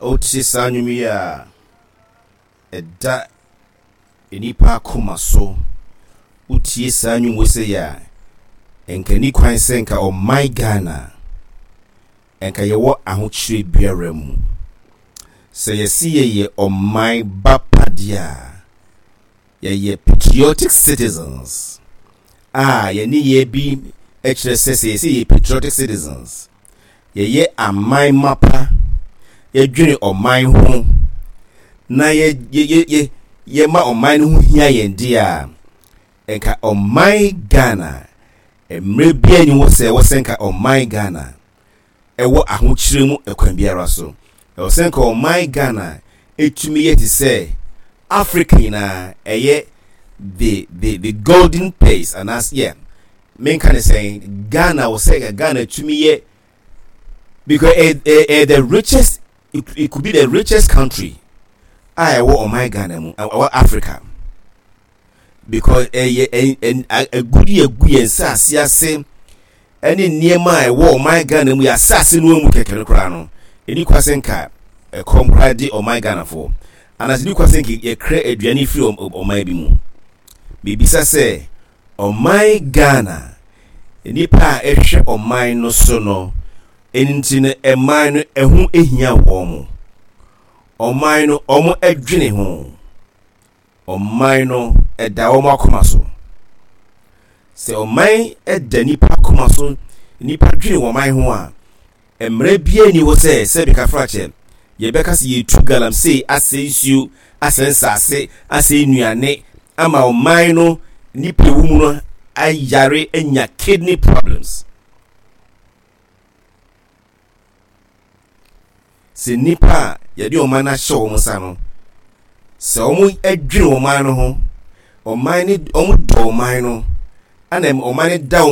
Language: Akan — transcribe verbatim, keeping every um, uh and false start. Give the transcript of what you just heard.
Wotie saa nnwom yi a, ɛda nnipa akoma so. Wotie saa nnwom wei sei a, nka nni kwan sɛ nka ɔman Ghana, nka yɛwɔ ahokyerɛ biara mu. Sɛ yɛse yɛyɛ ɔman ba pa deɛ a, yɛyɛ patriotic citizens a yɛne yɛ bi kyerɛ sɛ sɛ yɛsɛ yɛyɛ patriotic citizens, yɛyɛ aman mapa, yɛdwene ɔman ho na yɛ yɛ yɛ yɛma ɔman no ho hia yɛn deɛ a, nka ɔman Ghana, mmerɛ biara nni hɔ sɛ ɛwɔ sɛ nka ɔman Ghana ɛwɔ ahokyerɛ mu ɛkwan biara so. Ɛwɔ sɛ nka ɔman Ghana ɛtumi yɛ te sɛ Africa nyinaa, ɛyɛ the the the golden place anaasɛ yeah, menka ne sɛn, Ghana wɔ sɛ Ghana tumi yɛ because ɛ ɛ ɛ the richest, it, it could be the richest country a ɛwɔ ɔman Ghana mu, ɛwɔ Africa, because ɛyɛ ɛ ɛ agudi egu yɛn nsaase ase ɛne nneɛma a ɛwɔ ɔman Ghana mu, yɛ asase no mu kɛkɛ no koraa no, ɛni kwa sɛ nka ɛkɔm koraa de ɔman Ghanafoɔ anaasɛ ɛni kwa sɛ nka yɛkra aduane firi ɔman bi mu. Bibisa sɛ ɔman Ghana, nipa a ɛhwɛ ɔman no so no, ɛno nti no ɛman no ɛho ehia wɔn mo, ɔman no wɔn ɛdwene ho, ɔman no ɛda wɔn akoma so. Sɛ ɔman ɛda nipa akoma so, nipa dwene wɔn man ho a, mmerɛ biara ni hɔ sɛ sɛbi kafrakyɛ yɛbɛka sɛ yɛtu galamsey, asɛ nsuo, asɛ nsase, asɛ nnuane ama ɔman no nipa ewu mu no ayare anya kidney problems. Sɛ nipa a yɛde ɔman no ahyɛ wɔn nsa no, sɛ wɔn adwene ɔman no ho, ɔman no, wɔn dɔ ɔman no, ɛna ɔman no da